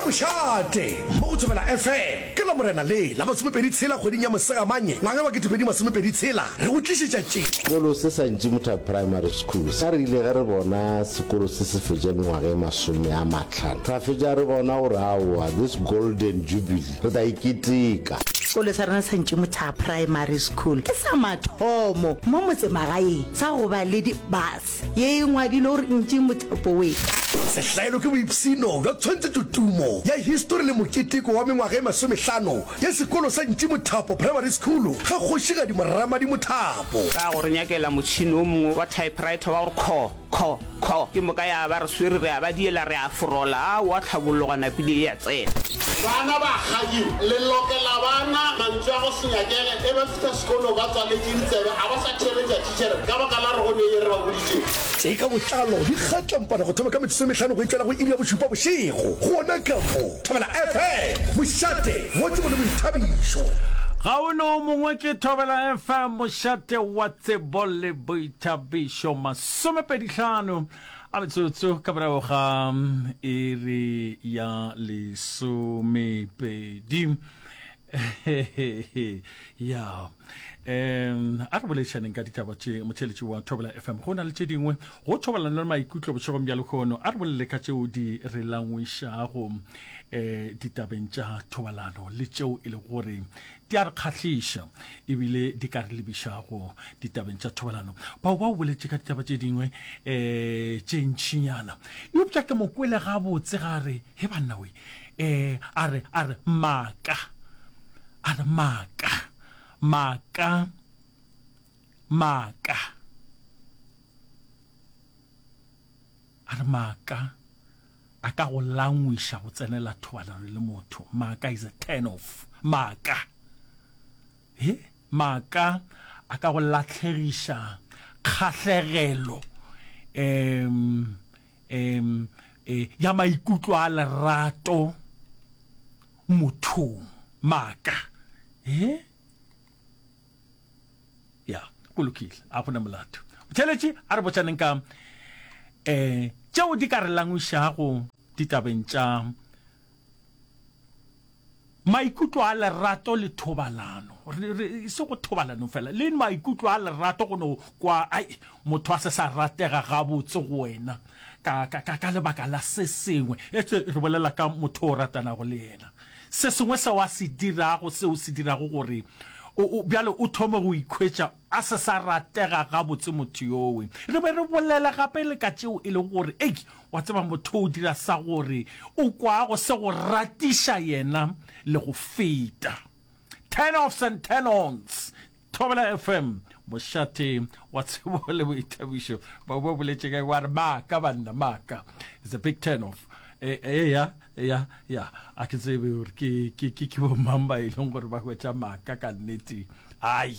mošate mo go Thobela FM ka Lamorena le la masomepedi tshela kgweding ya Mosegamanye ngwaga wa 2026 re go tlišetša tše. Sekolo se sa Ntšimotha Primary School sa re ile ge re bona sekolo se se fetša mengwaga e masome a mahlano ra fetša re bona gore aowa this golden jubilee re tla e keteka. Sekolo sa rena sa Ntšimotha Primary School ke sa mathomo mo motsemagaeng sa go ba le di-bus. Ye e ngwadilwe gore Ntši Mothapo we. Sehlaelo ke boipshino bja tshwantšhetšotumo ya histori le moketeko wa mengwaga e masomehlano ya sekolo sa Ntši Mothapo Primary School ga Kgošigadi Moramadi Mothapo. Ka go re nyakela motšhini o mongwe wa typewriter wa gore kho, kho, kho, ke moka ya ba re swere re a ba diela re a forola, aowa tlhabollo gwa napile e a tsena. Bana ba kgadi, le lokela bana mantswe a go se nyakege ge ba fihla sekolong ba tswaletše ditsebe a ba sa theeletša thitšhere ka baka la gore go ne ye re ba boditšeng. Tše ka botlalo di kgatlampana go thoma ka metsotso e mehlano go itšwela go iri ya bošupa bošego gona ka mo Thobela FM, mošate wa tsebo le boithabišo. Ga o ne o mongwe ke Thobela FM, mošate wa tsebo le boithabišo. Masomepedihlano a metsotso ka morago ga iri ya lesomepedi. Ya um a re boledišaneng ka ditaba tše motheeletši wa Thobela FM. Go na le tše dingwe go thobalano le maikutlo bošegong bja lehono. A re bolele ka tšeo di re langwišago um ditabeng tša thobalano le tšeo e lego gore di a re kgahliša ebile di ka re lebišago ditabeng tša thobalano. Bao ba o boletše ka ditaba tše dingwe um tše ntšinyana, eupša ke mo kwele gabotse ga re, he banna we, um a re, a re maaka, a re maaka, maaka, maaka, a re maaka a ka go langwiša go tsenela thobalano le motho. Maaka is a turn off. Maaka. He, maaka a ka go lahlegiša kgahlegelo um um ya maikutlo a lerato mothong. Maaka. He? Ya, go lokile, a go na molato. Motheeletši, a re botšaneng ka um tšeo di ka re langwišago ditabeng tša maikutlo a lerato le thobalano. Re, re, e se go thobalano fela, le maikutlo a lerato go no kwa, ai, motho a se sa ratega gabotse go wena ka, ka, ka, ka lebaka la se sengwe. Etse re bolela ka motho o ratanago le yena. Se sengwe seo a se dirago, seo se dirago gore o, o, bjale o thome go ikhwetša a se sa ratega gabotse motho yowe. Re be re bolela gape le ka tšeo e lego gore, ei, wa tseba motho o dira sa gore o kwago se go ratiša yena le go feta. Turn offs and turn ons. Thobela FM, mošate wa tsebo le boithabišo. Ba ba boletše ka wa re maaka banna maaka. It's a big turn off. E e ya ya ya a ke tsebe gore ke ke ke ke bo mang ba e leng gore ba hwetša maaka ka nnete. Ai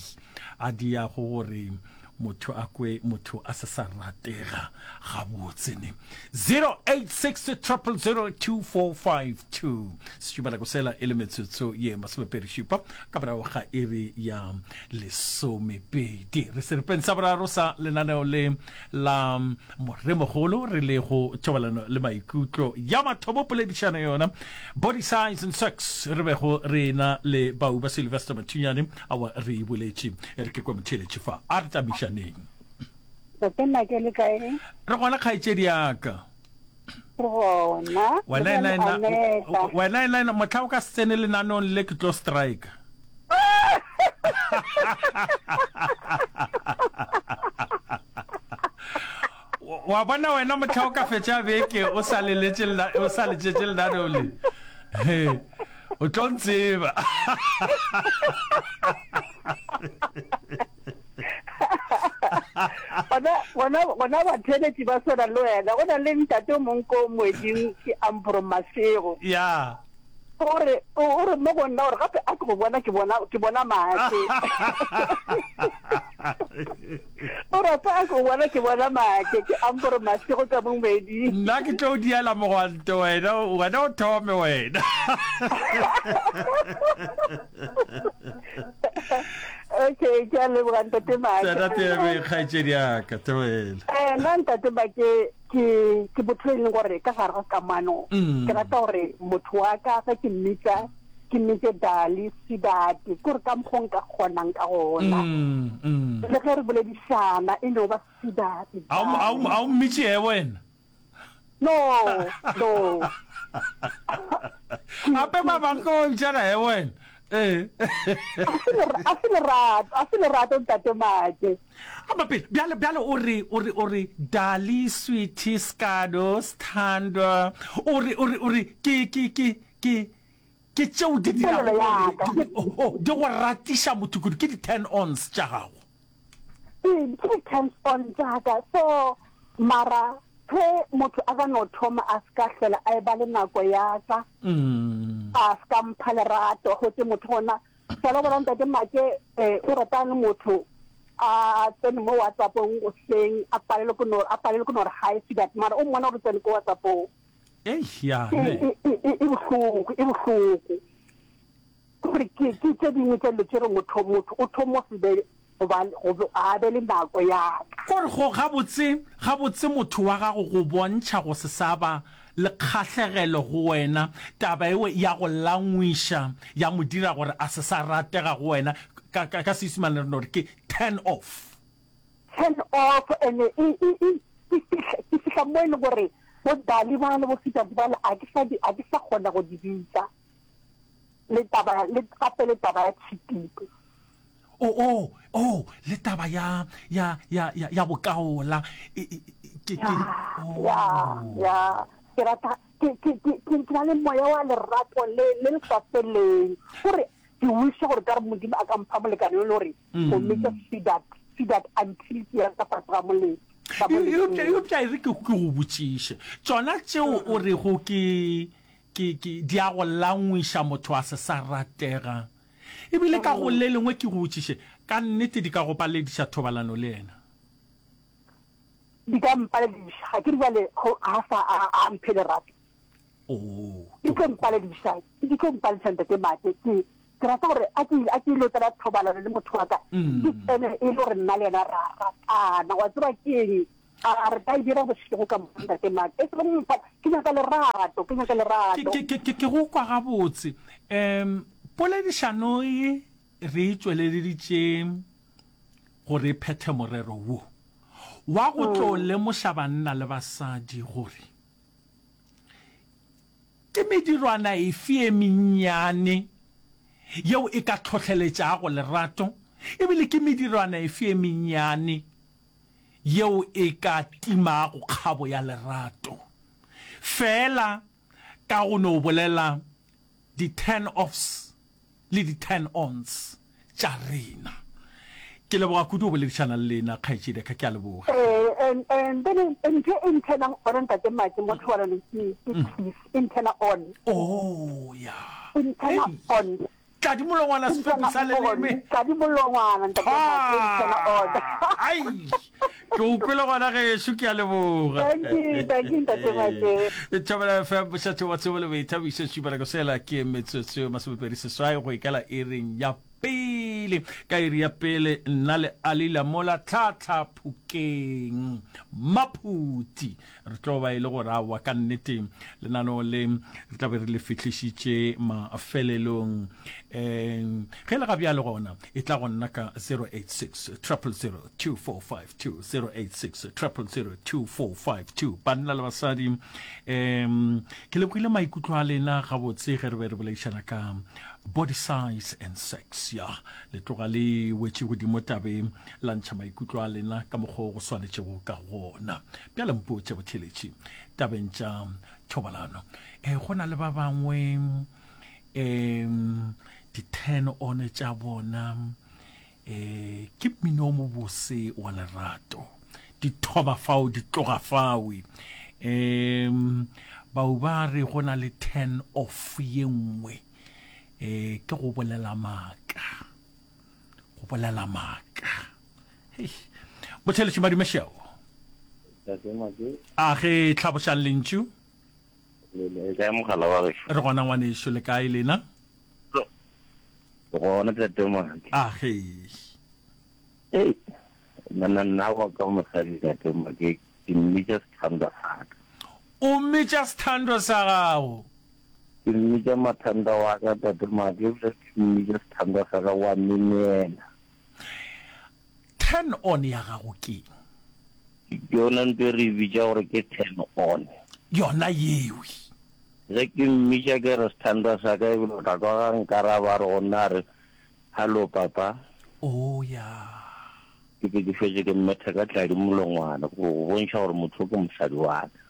a di ya go gore motho a kwe motho a se sa ratega gabotse ne. 086 000 2452 sešupanako sela e le metsotso ye masomepedi-šupa ka morago ga iri ya lesomepedi re seripeng sa boraro sa lenaneo le la moremogolo re le go thobalano le maikutlo ya mathomo poledišano yona body size and sex re bego re na le bau ba Sylvester Mathunyane awa re e boletše re ke kwa motheeletše fa a re tamišaneng Tate Make le kae? Re gona kgaetšedi ya ka. Re gona. Wena ena ena wena ena ena mohla o ka se tsene lenanong le ke tlo strike. Wa bona wena mohla o ka fetša beke o sa leletše o sa letšetše lenaneo le. O tlo ntseba. Gona, gona, gona batheeletši ba swana le wena. Go na le ntate o mongwe ko moeding ke Ampro Masego. Ya. O re, o re mo go nna gore gape a ke go bona ke bona ke bona maake. O re gape a ke go bona ke bona maake ke Ampro Masego ka mo moeding. Nna ke tlo diela mogwanto wena, wena o thome wena. Okay, ke a leboga ntate Make. Tsena tebe kgaetšedi ya ka, tebela. Eh, nna ntate Make. Ke ke motho e leng gore ka gare ga kamano ke rata gore motho wa ka ge ke mmitsa ke mmitse dali sidati ke gore ka mokgwa nka kgonang ka gona le ge re boledišana e no ba sidati a o mmitše e wena no no ape ba bang ko bitšana e wena ee a se lerato a se lerato ntate Make Aba pele, bjale, bjale o re, o re, o re, Dali, sweetie, skado, sthandwa, o re, o re, o re, ke, ke, ke, ke, ke tšeo di dirago Polelo ya ka. gore, oh, oh, di go ratiša motho kudu, ke di-turn-ons tša gago. Ee, ke di-turn-on tša ka. So, mara ge motho a ka no thoma a se ka hlola a eba le nako ya ka, a se ka mpha lerato, gotee motho gona Fela bona ntate Make eh, o rata le motho a tsene mo WhatsAppong goseng a palelwe ke no a palelwe ke no re hi sweetheart mara o mmona gore tsene ko WhatsAppong. Eish ya E ne. e e e e bohloko e bohloko. Gore ke ke tše dingwe tša dilo tše re motho motho o thoma go se be go ba go a be le nako ya ka. Gore go gabotse gabotse motho wa gago go bontšha go se sa ba le kgahlegelo go wena, taba ewe ya go langwiša ya mo dira gore a se sa ratega go wena, ka, ka, ka Seisemane re no re ke turn off. Turn off and e, e, e, ke fihla, ke fihla mo e leng gore bo Dali ba le bo Sitati ba le a ke sa di, a ke sa kgona go di bitsa. Le taba, le gape le taba ya cheating. Oh, oh, oh, le taba ya, ya, ya, ya, ya bokaola. E, e, e, ke, ke, oh. Ya, ya, ke rata, ke, ke, ke, ke, ke na le moya wa lerato le, le le sa feleng. Gore, ke wisha gore ka re Modimo a ka mpha molekane yo le gore, go mmitša sweetheart, sweetheart until ke ya ka fase ga molete. Eupša, eupša e re ke, ke go botšiše. Tšona tšeo o rego ke, ke, ke, di a go langwiša motho a se sa ratega. E bile ka go le lengwe ke go botšiše, ka nnete di ka go palediša thobalano le yena? Di ka mpalediša. Ga ke re bjale go a sa a a mphe lerato. Oo, Di tlo mpalediša, di tlo mpalediša Ntate Mate. Ke ke rata gore a ke a ke ilo tsena thobalano le motho wa ka, ke tsene e le gore nna le yena ra ratana. Wa tseba ke eng? A re ka e dira bošego ka moka Ntate Mate. E sego mpha, ke nyaka lerato, ke nyaka lerato. Ke, ke, ke, ke go kwa gabotse. Um, poledišano ye re e tšweleleditše gore e phethe morero wo wa go tlo lemoša banna le basadi gore ke medirwana efe e mennyane yeo e ka tlhohleletšago lerato ebile ke medirwana efe e mennyane yeo e ka timago kgabo ya lerato feela ka go no bolela di-turn-offs le di-turn-ons tša rena. Ke leboga kudu go boledišana le lena, kgaetšedi ya ka. Ke a leboga. Eh, and, and then ntho e nthenang ona ntate Maki mo thobalanong ke ke kiss e nthena on. Oh, ya. E nthena on. Tladi molongwana sefepi sa leleme. Tladi molongwana ntate Maki. Ai. Ke o kwele gona gešo ke a leboga. Thank you, thank you ntate Maki. Thobela FM mošate wa tsebo le boithabišo šupa nako sela ke metsotso 28 go ikela iring ya pele ka iri ya pele nna le Ali Lamola tlhatlha phokeng Maphuti Re tlo ba e le gore aowa ka nnete lenaneo le re tla be re le fihlišitše mafelelong. Um ge le ga bjale gona e tla go nna ka 086 000 2452 086 000 2452 banna le basadi um ke lebogile maikutlo a lena gabotse ge re be re boledišana ka body size and sex ya le tloga le wetše godimo tabeng la ntšha maikutlo a lena ka mokgwa o go swanetšego ka gona. Bjale mpotše botheletši tabeng tša thobalano. E, go na le ba bangwe um di-turn on tša bona e, ke mmino o mobose wa lerato di thoma fao di tloga fawe um bau ba re go na le turn off ye nngwe um ke go bolela maaka go bolela maaka hei botheletši madumešeo a ge tlhabošang lentšu re gona ngwanešu le kae lena gona tate Maki a ge ei nna nna wa ka mosadi tate Maki. Ke mmitša sethandwa sa ka. O mmitša sethandwa sa gago? Ke mmitša mathandwa wa ka, Tate Maake, ebile ke mmitša sethandwa sa ka, wa myemyela. Turn on ya gago keng? Ke yona ntho e re e bitša gore ke turn on. Yona yewe. Ge ke mmitša ke re sethandwa sa ka, ebile o tla kwa ga nkaraba a re go nna a re, Hallo papa. Oh ya. Ke be ke šetše ke mmetha ka tladi molongwana go go bontšha gore motho o ke mosadi wa ka.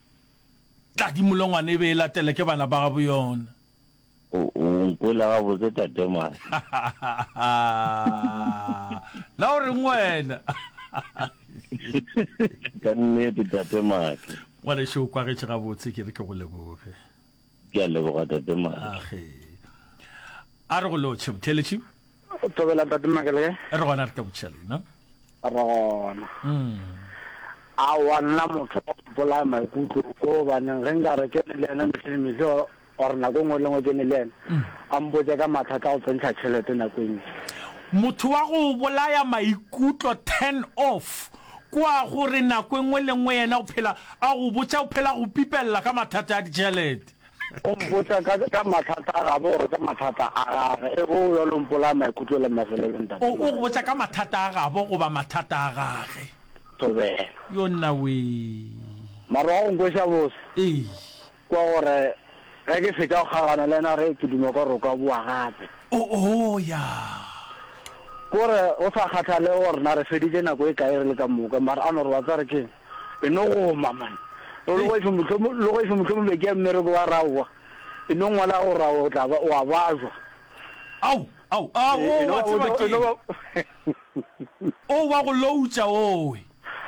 Tladi molongwana e be e latela ke bana ba gabo yona. O, o nkwele gabotse tate Mase. Na o reng wena? Ka nnete tate Mase. Ngwanešu o kwagetše gabotse ke re ke go leboge. Ke a leboga tate Mase. Age. A re go lotšhe motheeletši. Thobela tate Make le kae? Re gona re ka botšiša lena. Re gona. Mm. Aowa nna motho wa go bolaya maikutlo ko gobaneng ge nka re ke ne le yena mehle le mehle or nako e nngwe le nngwe ke ne le yena mm. a mpotse ka mathata a go tsentšha tšhelete nako e ntši. Motho wa go bolaya maikutlo turn off kwa gore nako e nngwe le nngwe yena o phela a go botša o phela go pipelela ka mathata a ditšhelete. O mpotša ka, ka mathata a gabo gore ka mathata a gage. E go bjalo mpolaya maikutlo le mafelelo ntate. O, o go botša ka mathata a gabo goba mathata a gage. Thobela. Yo nna wee. Mara wa go nkweša bose. Ee. Ke wa gore ge ke fetša go kgaogana le yena re ke duma ka gore o ka boa gape. O, o, ya. Ke gore go sa kgathalege gore na re feditše nako e kae re le ka moka mara a no re wa tseba re keng. E no goma man. Le go efe mohlomong, le go efe mohlomong be ke ya mmereko wa raowa. E no ngwala go raowa o tla ba wa bajwa. Ao, ao, ao, o wa tseba ke. O wa go loutša owe.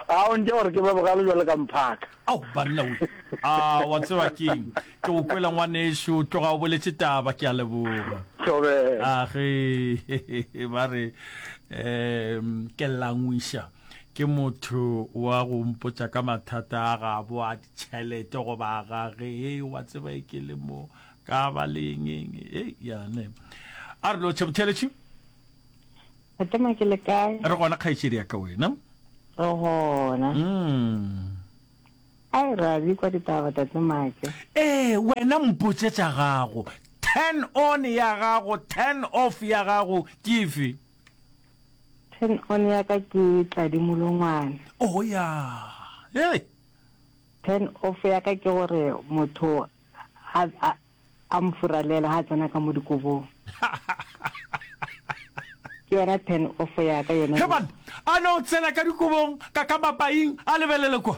A o ntše gore ke ba bogale jwale ka mphaka. Ao banna we. A wa tseba keng. Ke go kwela ngwanešu, tloga o boletše taba, ke a leboga. Thobela. A ge ba re um ke langwiša. Ke motho wa go mpotša ka mathata a gabo a ditšhelete goba a gage. Hei, wa tseba e ke le mo ka ba le eng eng. Hei, ya ne. A re lotšhe motheeletši. Fatima ke le kae? Re gona kgaetšedi ya ka wena. Re gona. Mm. Ai ra di kwa ditaba tate Make. Ee, wena mpotše tša gago. Turn on ya gago, turn off ya gago ke efe? Turn on ya ka ke Tladi Molongwana. Oh ya. Hey. Turn off ya ka ke gore motho a a a mfuralela ha tsena ka mo dikobong. Ke yona turn off ya ka yona. He man, a no tsena ka dikobong ka ka mapaing a lebelele kwa.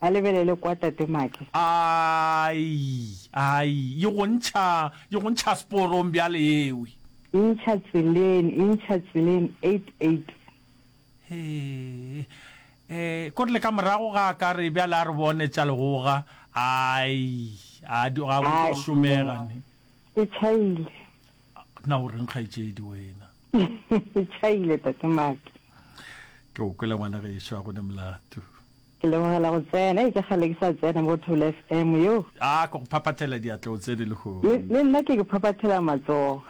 A lebelele kwa Tate Make. Ai, ai, e go ntšha, e go ntšha seporong bjale ewe. E ntšha tseleng, e ntšha tseleng, 88. Hee, eh, kore le ka morago ga a ka re bjale a re bone tša legoga, ai, a di, ga go tlo šomega ne. E tšhaile. Na o reng kgaetšedi wena? E tšhaile Tate Make. Ke o kwele ngwana gešo, a go ne molato. Ke lebogela go tsena. Ei, ke kgale ke sa tsena mo Thobela FM yo. A ke go phaphathela diatla o tsene lehono. Le, le nna ke ke phaphathela matsogo.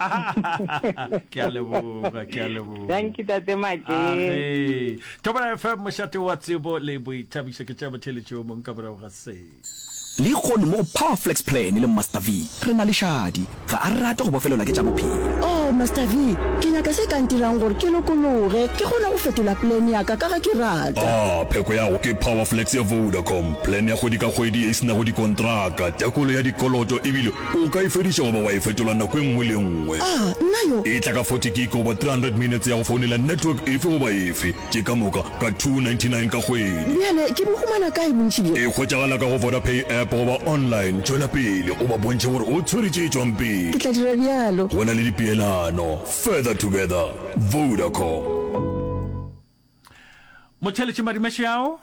Ke a leboga, ke a leboga. Dankie Tate Make. Age. Thobela FM mošate wa tsebo le boithabišo ke tša motheeletši o mong ka morago ga se. Lehono mo go Power Flex Plan le Master V re na le Shadi. Ga a rate go bofelelwa ke tša bophelo. Oh, Master V, ke nyaka se ka ntirang gore ke lokologe, ke kgone go fetola plan ya ka ka ge ke rata. Ah, pheko ya go ke Power Flex ya Vodacom, plan ya kgwedi ka kgwedi ye e se nago dikontraka, tekolo ya dikoloto ebile o ka e fediša goba wa e fetola nako e nngwe le e nngwe. Ah, nna yo! E tla ka 40 gig goba 300 minutes ya go founela network efe goba efe. Tše ka moka ka 299 ka kgwedi. Bjale ke bo humana kae bontši bjo? E hwetšagala ka go Vodapay app goba online. Tšwela pele o ba bontšhe gore o tshwere tše tšwang pele. Ke tla dira bjalo. Go na le dipeelano. Further together. Vodacom. Motheeletši Madimešeao.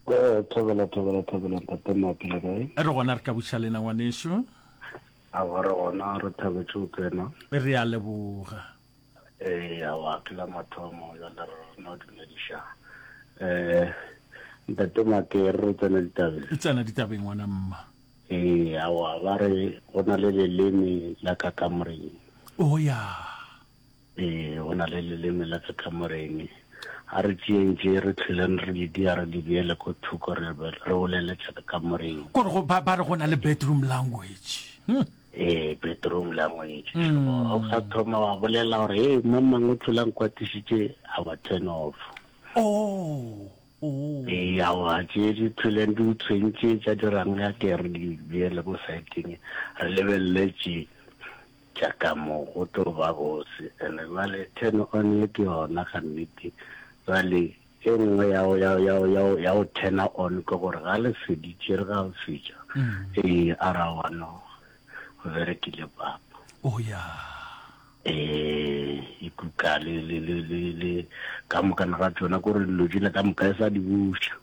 Eh, thobela, thobela, thobela, ntate Mapi le kae? Re gona re ka buša lena ngwanešu. Aowa re gona re thabetše go tsena. Re a leboga. Ee, aowa ke la mathomo jale re no dumediša. Eh, ntate Make re re tsena ditabeng. Tsena ditabeng ngwana mma. Ee, aowa ba re go na le leleme la ka kamoreng. Oh ya. Ee, go na le leleme la ka kamoreng. A re tšeeng tše re hlweleng re di dia re di beele ko thoko re be re bolele tša ka kamoreng. Kore go ba ba re go na le bedroom language. Hmm. Ee, bedroom language. Mm. O sa thoma wa bolela gore hey mang mang o tlhola nkwatišitše a wa turn off. Oh. Oh. Ee, aowa tše di tlholeng di o tshwentše tša dirang ya ke re di beele ko saeteng re lebelele tše. Tša ka mo go tlo ba bose. And jwale turn on ye ke yona ga nnete. Jwale e nngwe ya go, ya, ya, ya, ya go turn on ke gore ga le feditše re ga o fetša. Ee, a ra wa no. Go berekile papa. Oh ya. Ee, e kuka le, le, le, le, le, ka mokana ga tšona, kore dilo tšela ka moka e sa di buša.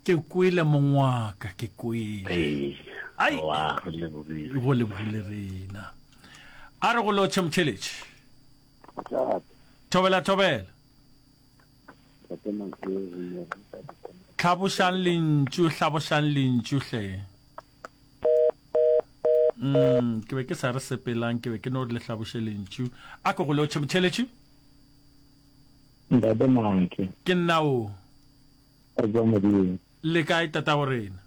Ke kwele mongwaka, ke kwele. Ee. Ai. Wa re lebogile. Go lebogile rena. A re go lotšhe motšheletše. Thobela thobela. Hlabošang lentšu, hlabošang lentšu hle. Mm, ke be ke sa re sepelang, ke be ke no re le hlaboše lentšu. A ke go lotšhe motšheletše. Ntate Mantle. Ke nna o. Re tswa Modimo. Le kae tatago rena?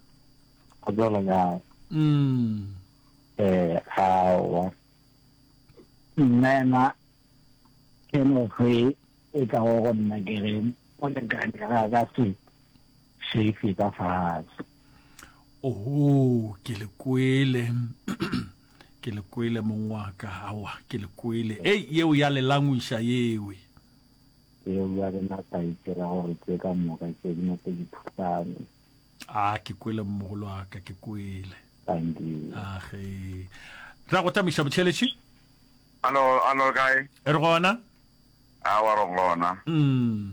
Go tswa le kae? Mm. Eh, aowa. Nna ena ke no ge e tla go go nna ke re molekane ga ka se shave ka fatshe. Oho, ke le kwele. Ke le kwele mong wa ka. Aowa, ke le kwele. Ei, yeo ya le langwiša yewe. Yeo ya rena sa itira gore tše ka moka tše di nape di thusane. A, ke kwele mmogolo wa ka, ke kwele. Thank you. A ge. Ra go tamiša botšheletši. Alo, alo kae? Re gona. Aowa re gona. Mm.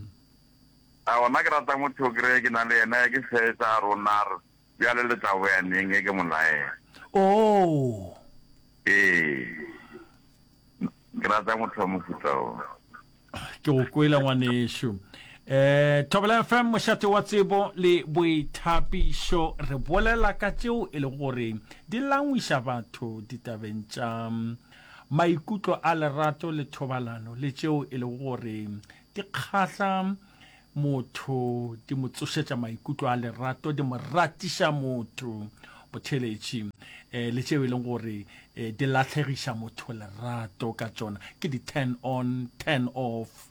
Aowa nna ke rata motho o kry-e ke na le yena ke fetsa a rona a re bjale le tla boya neng ge ke mo laela. Oh. Ee. Ke rata motho wa mofuta o. Ke go kwele ngwanešu. Eh, Thobela FM mošate wa tsebo le boithapišo re bolela ka tšeo e le gore di langwiša batho ditabeng tša maikutlo a lerato le thobalano le tšeo e lego gore di kgahla motho, di mo tsošetša maikutlo a lerato, di mo ratiša motho, botheletši, um le tšeo e leng gore um di lahlegiša motho lerato ka tšona, ke di turn on, turn off,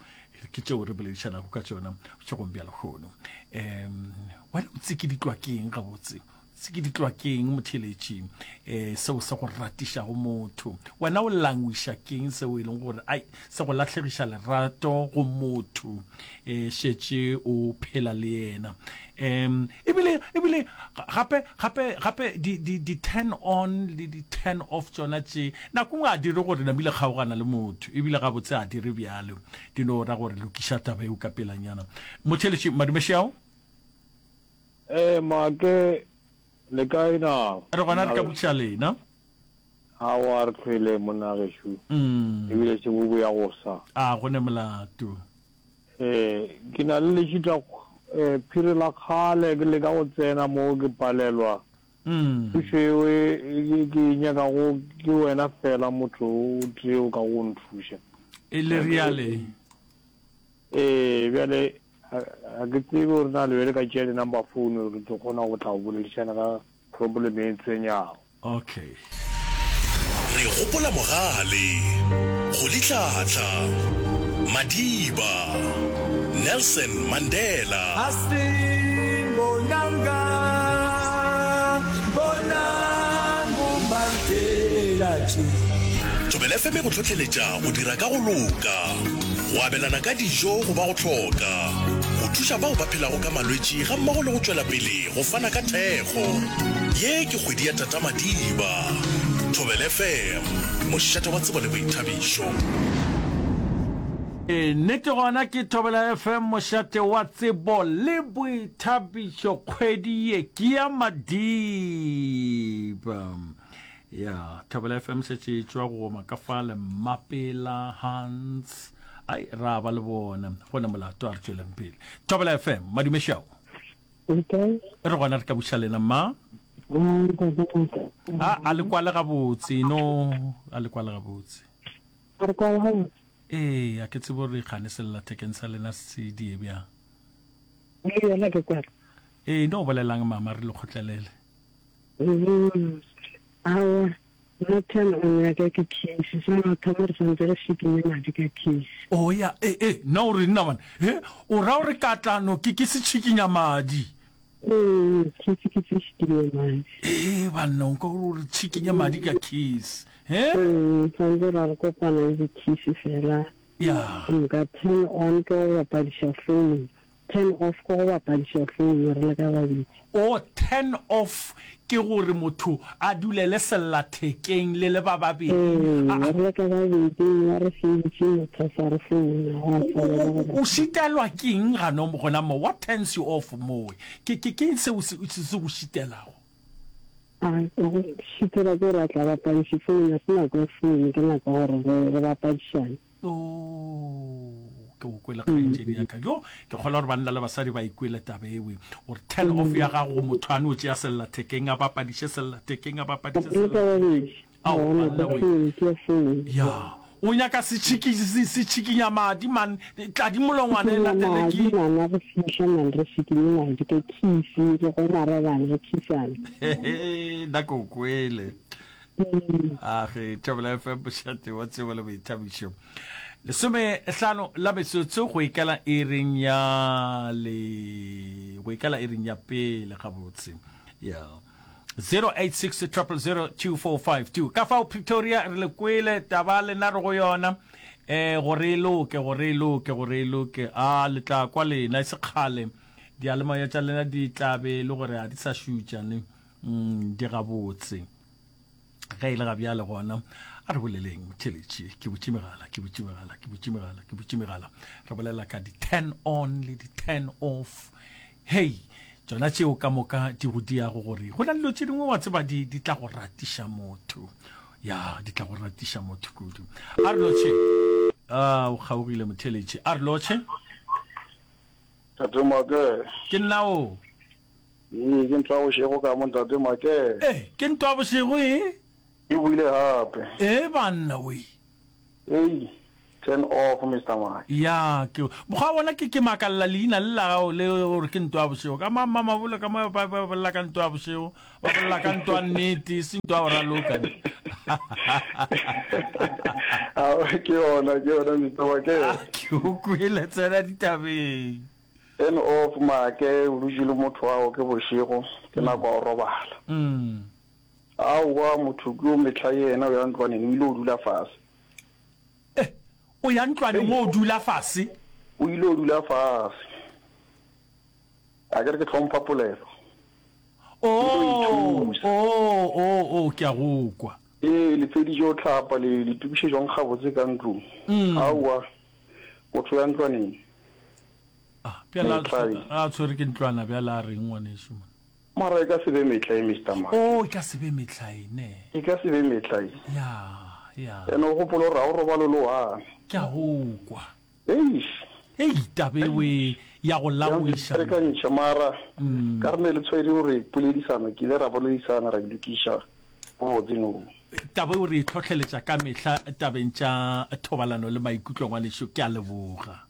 ke tšeo re boledišanago ka tšona bošegong bja lehono. Um wena o tsikiditlwa ke eng gabotse? Tsikiditlwa ke eng motheeletši um seo se go ratišago motho? Wena o langwiša keng seo e leng gore ai se go lahlegiša lerato go motho um šetše o phela le yena? Um ebile ebile gape gape gape di di di turn on le di turn off tšona tše nako nngwe a dire gore namile kgaogana le motho ebile gabotse a dire bjalo di no ra gore lokiša taba eo ka pelanyana. Motheeletši Madumešeao? Ee, Make, le kae na? Re gona re ka botšiša lena. Aowa, re hlwele monna gešo. Ebile se bo boya go sa. A go ne molato. Ee, ke na le lešita phiri la kgale ke leka go tsena mo ke palelwa. Thušo eo e ke e nyakago ke wena fela motho o tee o ka go nthuša. E le reale. Ee, bjale Ga ke tsebe gore na le be le ka tšea di-number phone gore ke tlo kgona go tla go boledišana ka problem e ntshwenyago. Okay. Re gopola Mogale, Rolihlahla, Madiba, Nelson Mandela. Asimbonanga, bonang uMandela nje. Thobela FM e go hlohleletša go dira ka go loka. Go abelana ka dijo go ba go hloka, go thuša bao ba phelago ka malwetši gammogo le go tšwela pele go fana ka thekgo. Ye ke kgwedi ya Tata Madiba. Thobela FM, mošate wa tsebo le boithabišo. Nnete gona ke Thobela FM mošate wa tsebo le boithabišo kgwedi ye ke ya Madiba. Ya, Thobela FM šetše e tšwa go goma ka fale Mmapela, Hans. Ai, ra ba le bona. Go ne molato a re tšweleng pele. Thobela FM, madume šao. Okay. Re gona re ka buša lena mma. A a le kwale gabotse, no, a le kwale gabotse. A re kwale gabotse. Ee, a ke tsebe gore kgane sellathekeng sa lena se die bjang. Le yona ke kwala. Ee, no bolelang mama re le kgotlelele. Mm, aowa, nna turn on ya ka ke kiss. Sa mathomo re santse re šikinye madi ka kiss. Oh ya, e e, nna o re nna bana. He, o ra gore katlano ke ke se tšhikinya madi. Ee, kiss ke se šikinye madi. Ee, banna, o nka gore o re tšhikinya madi ka kiss. He? Ee, santse ra re kopana le di-kiss fela. Ya. Nka turn on ke go bapadiša phone. Turn off ke go bapadiša phone re le ka babedi. Oh, turn off ke gore motho a dulele sellathekeng le le ba babedi. Ee, re le ka babedi mme re feditše motho a sa re founa, gwa swana le gore. O šitelwa ke eng gano gona mo? What turns you off mowe? Ke ke ke eng seo se se go šitelago? A go šitela ke gore a tla bapadiše phone, ga se nako ya phone, ke nako ya gore re re bapadišane. Oh, ke o kwele kgaetšedi ya ka. Jo, ke kgolwa gore banna le basadi ba ikwele taba ewe. Gore turn off ya gago go motho a no tšea sellathekeng a bapadiše sellathekeng a bapadiše sellathekeng. Ao, banna we. Ya. O nyaka se tšhikinya madi man, tladi molongwana e latele ke. Madi re fihla man re šikinye madi ka khisi re go marebana re khisana. Nna ke o kwele. A ge Thobela FM mošate wa tsebo le boithabišo. Lesomehlano la metsotso go ikela iring ya le go ikela iring ya pele gabotse. Ya. 086 000 2452. Ka fao Pretoria re le kwele taba lena re go yona. Eh gore e loke gore e loke gore e loke. A le tla kwa lena e se kgale. Dialemoya tša lena di tla be e le gore a di sa šutša ne. Mm, di gabotse. Ge e le ga bjale gona, a re boleleng motheletši. Ke butše megala, ke butše megala, ke butše megala, ke butše megala. Re bolela ka di-turn on le di-turn off. Hei, tšona tšeo ka moka di go diago gore go na le dilo tše dingwe wa tseba di, di tla go ratiša motho. Ya, di tla go ratiša motho kudu. A re lotšhe. A, o kgaogile motheletši. A re lotšhe. Tate Make. Ke nna o. Ee, ke ntwa bošego ka mo Ntate Make. Ee, ke ntwa bošego e. E boile gape. Ee banna we. Ei, turn off Mister Make. Ya, ke mokgwa wa bona ke ke makalela leina le la gago le gore ke ntwa bošego. Ka ma mabole ka mo ba ba bolela ka ntwa bošego, ba bolela ka ntwa nnete, e se ntwa go raloka. Ao, ke yona, ke yona Mister Make. Ke o kwele tsena ditabeng. Turn off Make, o dutše le motho wa gago ke bošego, ke nako ya go robala. Aowa, motho ke yo mehla yena o ya ntlwaneng, o ile o dula fase. Eh, o ya ntlwaneng o dula fase? O ile o dula fase. A ke re ke hlompha polelo. Oh, oh, oh, oh, ke a go kwa. Ee, le feditše go hlapa, le le tokišetšwang gabotse ka ntlong. Aowa, motho o ya ntlwaneng. Ah, bjale a tshwere ke ntlwana bjale a reng ngwanešu man? Mara e ka se be metlae Mister Make. Oh, e ka se be metlae ne. E ka se be metlae. Ya, ya. Ene o gopole gore ga o robale o le one. Ke a go kwa. Eish. Ei, taba ewe ya go laoiša. Re ka ntšha mara ka re ne le tshwere gore poledisano ke ile ra boledisana ra lokiša botse no. Taba eo re e tlhohleletša ka mehla tabeng tša thobalano le maikutlo ngwanešu ke a leboga.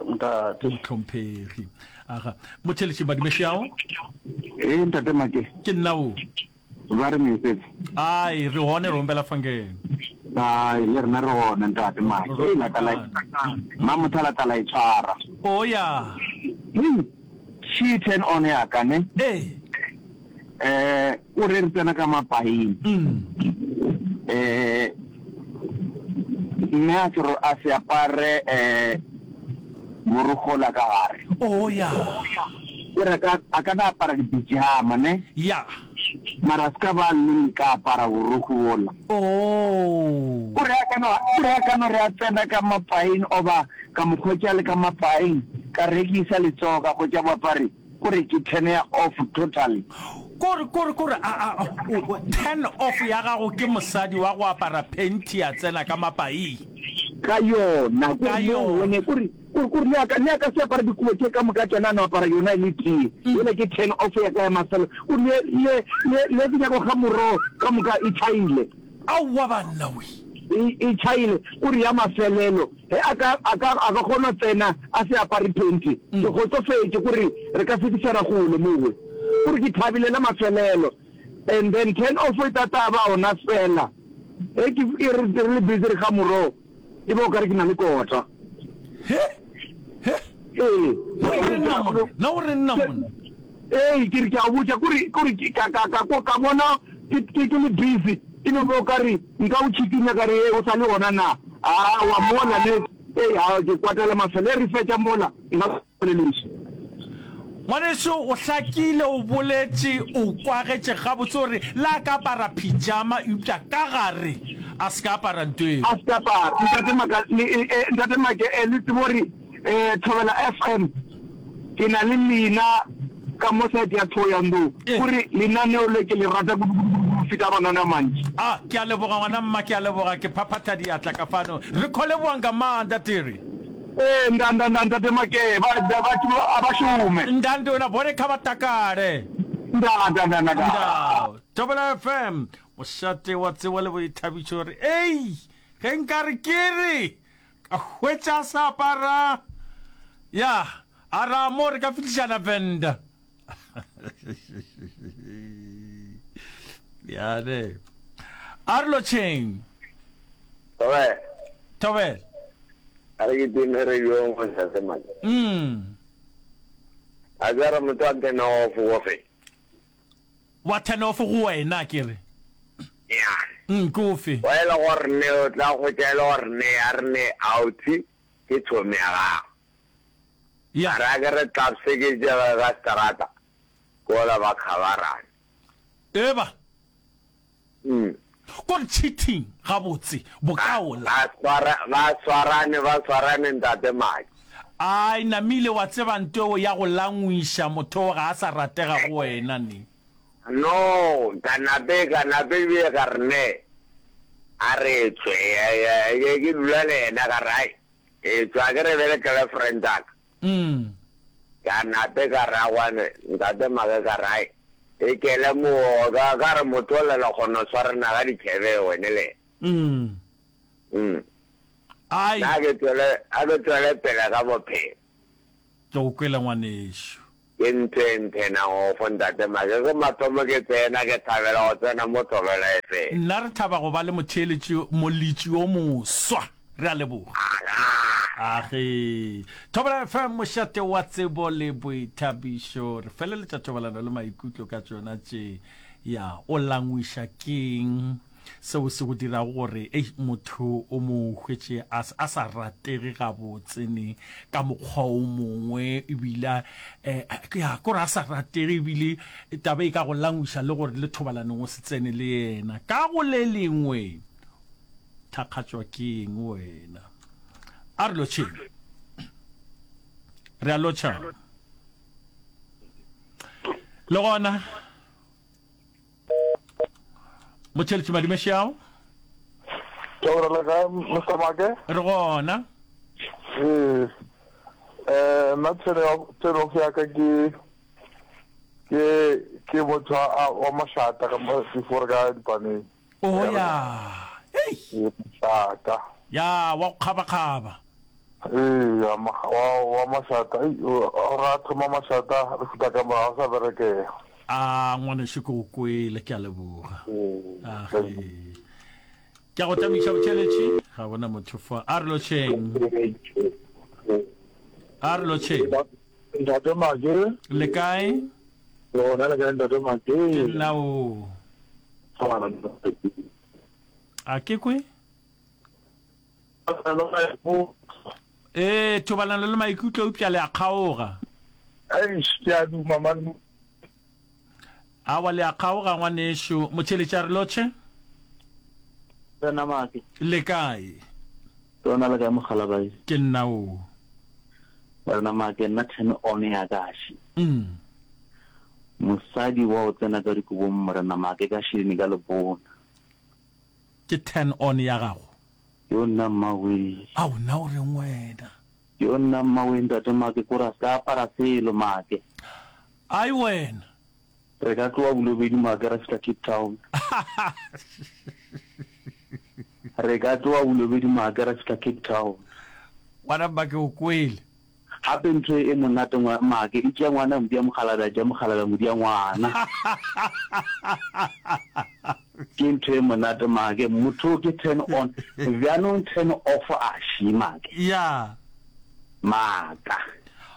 Ntate. Mohlomphegi. Aga. Motheletši Badumešao. Ee, ntate Make. Ke nna o. Ba re mesetse. Ai, re hone re ombela fangeng. Ai, le rena re gona ntate Make. Ee, la tla la Mamotha la tla la e tshwara. O ya. Hei, she turn on ya ka ne. Ee. Eh, o re re tsena ka mapaing. Eh, mme a se a se apare eh borokgo la ka gare. Oh ya. O re ka a ka na apara dipijama ne. Ya. Mara se ka ba le ka apara borokgo bola. Oh. O re a ka no o re a ka no re a tsena ka mapaing oba ka mo hwetša le ka mapaing ka rekisa letsogo ka hwetša boapare. Kore ke turn ya off totally. Kore kore kore a a o turn off ya gago ke mosadi wa go apara panty a tsena ka mapaing. Ka yona Ka kore mo yona. one kore kore kore le a le a ka se apara dikobo tše ka moka tšona a no apara yona e le tee. Yela ke turn off ya ka ya mafelo. Kore le le le le ke nyaka go kga morogo ka moka e tšhaile. Aowa banna we. e e tšhaile, kore ya mafelelo ge a ka a ka a ka kgona tsena a se apare phenti, ke kgotsofetše kore re ka fetišana kgole mowe. Kore ke thabile la mafelelo. And then turn off e tata ba ona fela ge ke e re re le busy re ga morogo e ba o kare ke na le kota. He? He? Ee. Na o re nna monna? Na o re nna monna? Ee, ke re ke a go botša kore kore ke ka ka ka ka bona ke ke ke le busy e no ba o kare nka o tšhikinya ka re ee o sa le gona na? Aowa mola ne ee a ke kwatela mafelo e re fetša mola nka Polelišo. Ngwanešu, o hlakile, o boletše, o kwagetše gabotse gore le a ka apara pyjama eupša ka gare a se ka apara nto eo. A se ka apara. Ntate Maka, le, e, e, Ntate Make, e, le tsebe gore, e, Thobela FM, ke na le lena ka mo side ya Thohoyandou, gore lenaneo le ke le rata kudu, kudu, kudu, kudu go feta mananeo a mantši. A, ke a leboga ngwana mma, ke a leboga, ke phaphatha diatla ka fano. Re kho leboga nga maanḓa, Terry. Ee, nda, nda, nda, Ntate Make, ba, ba, batho a ba šome. Nda, ndona, bone kha ba takale. Nda, nda, nda, nda, nda. Nda. Thobela FM, mošate wa tsebo le boithabišo re, Ei, ge nka re ke re, ka hwetša sa apara, ya, a ra mo re ka fihlišana Venda. Bjale, a re lotšheng. Thobela. Thobela. A re kitime re yo ntate Maki. Mm. A ke re motho a turn off go fe. Wa turn off go wena ke re. Yeah. Mm, ke ofe? Wa e le gore ne o tla hwetša e le gore ne a re ne outie ke chomi ya gago. Yeah. A re a ke re tlapse ke tšege ka seterata ke ola ba khabarane. Eba. Mm. Kore cheating gabotse bokaola. Ba swara ba swarane ba swarane ntate Maki. Ai namile wa tseba ntweo ya go langwiša motho ga a sa ratega go wena ne. No ka nape ka nape ebile ka re ne a re tswe ke dula le yena ka re ai e tswa ke re bele girlfriend aka. Mm. Ka nape ka re awane ntate Make ka re ai e kele moo ka ka re motho o lela kgona swarana ga dithebe wene le. Mm. Mm. Ai. Na ke tswele a ke tswele pele ka bophelo. Ke go kwele ngwanešu. Ke ntho e nthenang ofo ntate Make ke mathomo ke tsena ke thabela go tsena mo Thobela FM. Nna re thaba go ba le motheeletši molitši yo moswa. Re a leboga. Age. Thobela FM mošate wa tsebo le boithabišo. Re feleletša thobalano le maikutlo ka tšona tše. Ya, o langwiša keng seo se go dirago gore ei motho o mo hwetše a, a sa ratege gabotse ne ka mokgwa o mongwe ebile eh, ya kore a sa ratege ebile taba e ka go langwiša le gore le thobalanong o se tsene le yena ka go le lengwe Thakgatšwa ke eng wena? A re lotšheng. Re a lotšha. Le gona motšheletši madumešao. Thobela le kae Mr Make? Re gona. Ee. Eh nna turn off ya ka ke ke ke motho wa mašata ka before ka dipaneng. Oh ya. Ei. Mašata. Ya, wa go kgabakgaba. Ee, ya, wa, wa mašata. Ei, o ra thoma mašata, re fihla ka morago sa berekega. A, ngwanešu ke go kwele, ke a leboga. A ge. Ke a go tamiša botšheletši. Ga gona motho fa. A re lotšheng. A re lotšheng. Ntate Make. Le kae? Lona le kae Ntate Make? Ke nna o. A ke kwe? Ee, thobalano le maikutlo eupša le a kgaoga. Eish, ke a duma man. Awa le a kgaoga ngwanešu. Motšheletši a re lotšhe. Tsena Make. Le kae? Lona le kae Mokgalabae? Ke nna o. Morena Make, nna turn on ya ka še. Mm. Mosadi wa o tsena ka dikobong Morena Make ka šeleni ka lebona. Ke turn on ya gago? Yo nna mmawee. Ao nna o reng wena? Yo nna mmawee ntate Make kore a se ka apara selo Make. Ai wena. Re ka tloga Bolobedu Make ra fihla Cape Town. Re ka tloga Bolobedu Maake ra fihla Cape Town. Ngwana mma ke o kwele. Gape ntho e monate ngwa Maake e tšea ngwana modi ya mokgalabje a tšea mokgalabje modi ya ngwana. Ke ntho e monate Maake. Motho ke turn on. Bjanong turn off a še Maake. Ya. Maaka.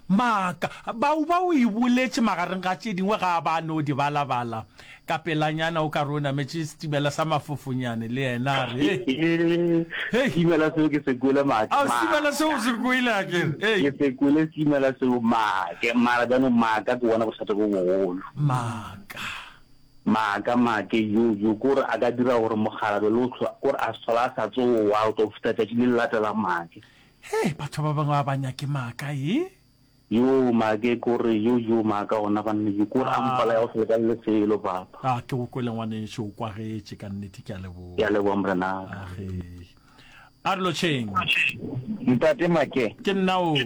Maaka. Bauba o e boletše magareng ga tše dingwe ga a ba no di balabala ka pelanyana o ka re o nametše setimela sa mafofonyane le yena a re, Hei! Hei! Setimela seo ke se kwele Maake. Ao, setimela seo o se kwele a ke re, Hei! Ke se kwele setimela seo Maake, mara bjanong maaka ke bona bothata bo bogolo. Maaka. Maaka, Maake, yo, yo, ke gore a ka dira gore mokgalabje le o hlwa, ke gore a se hlola a sa tsoga go tlo fihla tšatši le le latelang Maake. Hei, batho ba bangwe ga ba nyake maaka, e? Yoo, maake, kore, yo, yo, maaka gona banna, yo, kore a mpolaya go se lekane le selo, papa. A, ke go kwele, ngwanešu, o kwagetše, ka nnete, ke a leboga. Ke a leboga, morenaka. Age. A re lotšheng. Ntate Make. Ke nna o.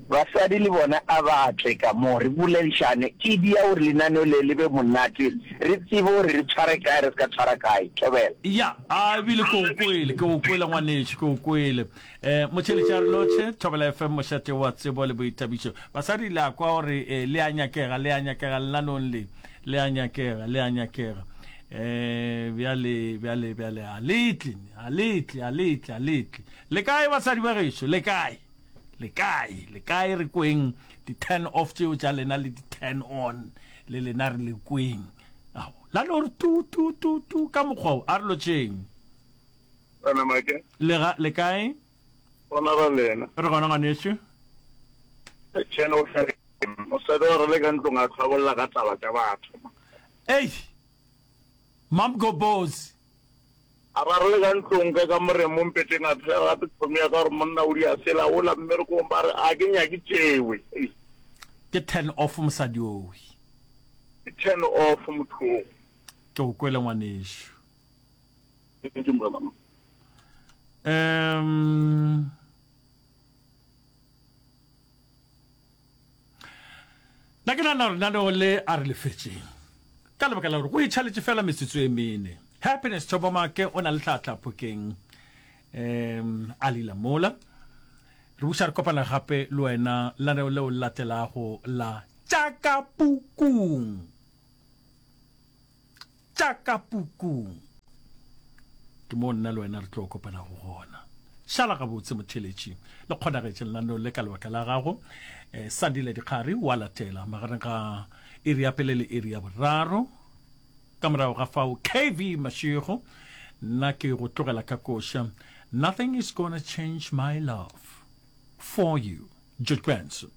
Basadi le bona a ba tle ka mo, re boledišane. Ke dia gore lenaneo le le be monate, re tsebe gore re tshware kae, re se ka tshwara kae. Thobela. Ya, a ebile ke go kwele, ke go kwele ngwanešu, ke go kwele. Eh, motšheletši a re lotšhe, Thobela FM, mošate wa tsebo le boithabišo. Basadi le a kwa gore eh, le a nyakega, le a nyakega lenaneong le, le a nyakega, le a nyakega. Eh, bjale, bjale, bjale, a le tle, a le tle, a le tle, a le tle. Le kae basadi ba gešo, le kae? Le kae, le kae re kweng di turn off tšeo tša lena le di turn on le lena re le kweng. Ao, la no re tu tu tu tu ka mokgwa o, a re lotšheng. Wena Make? Le ga, le kae? Gona ra lena. Re gona ngwanešu. Tšhene o hlare. Mosadi wa re le ka ntlong a tlhabolla ka taba tša batho. Ei! Mamgobozi. A ba re le ka ntlong ka kamoreng mo mpeteng a phela gape chomi ya ka gore monna o dia sela ola mmerekong ba re a ke nyake tšewe. Ei. Ke turn off mosadi owe. Ke turn off motho o. Ke go kwele ngwanešu. Um Nna ke nagana gore lenaneo le a re le fetšeng ka lebaka la gore go itšhaletše fela metsotso e mene. Happiness Thobomake o na le tlhatla phokeng um a lila mola. Re buša re kopana gape le wena lenaneo leo le latelago la Tša ka Pukung. Tša ka pukung. Ke moo nna le wena re tlo kopanago gona. Šala gabotse motheeletši. Le kgonagetše lenaneo le ka lebaka la gago. Eh, Sandile Dikgari wa latela magareng ga iri ya pele le iri ya boraro. Ka morago ga fao KV Mashego, nna ke go tlogela ka koša Nothing is gonna change my love for you, George Benson.